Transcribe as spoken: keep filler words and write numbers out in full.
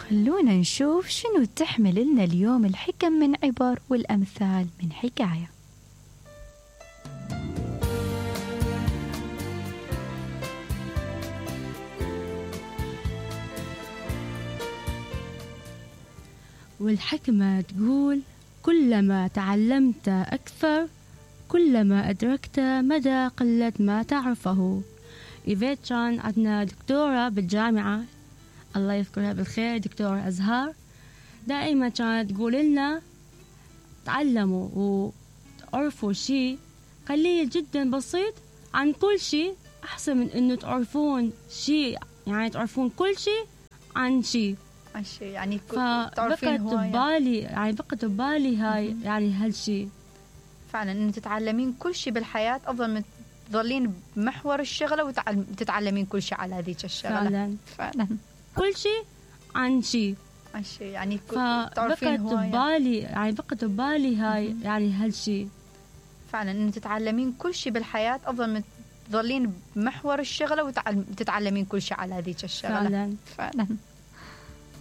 خلونا نشوف شنو تحمل لنا اليوم الحكم من عبر والأمثال من حكاية. والحكمة تقول: كلما تعلمت أكثر كلما أدركت مدى قلة ما تعرفه. إيفيت كان عندنا دكتورة بالجامعة، الله يذكرها بالخير، دكتورة أزهار، دائما كانت تقول لنا تعلموا وتعرفوا شيء قليل جدا بسيط عن كل شيء أحسن من إنه تعرفون شيء، يعني تعرفون كل شيء عن شيء عن شيء يعني فبقت ببالي يعني بقت ببالي هاي م- يعني هالشيء فعلا إنه تتعلمين كل شيء بالحياة أفضل من تظلين بمحور الشغلة وتتعلمين كل شيء على هذيك الشغلة. فعلا فعلا كل شيء عن شيء عن شيء يعني فبقت ببالي يعني بقت ببالي هاي م- يعني هالشيء فعلا إنه تتعلمين كل شيء بالحياة أفضل من تظلين بمحور الشغلة وتتعلمين كل شيء على هذيك الشغلة. فعلا فعلا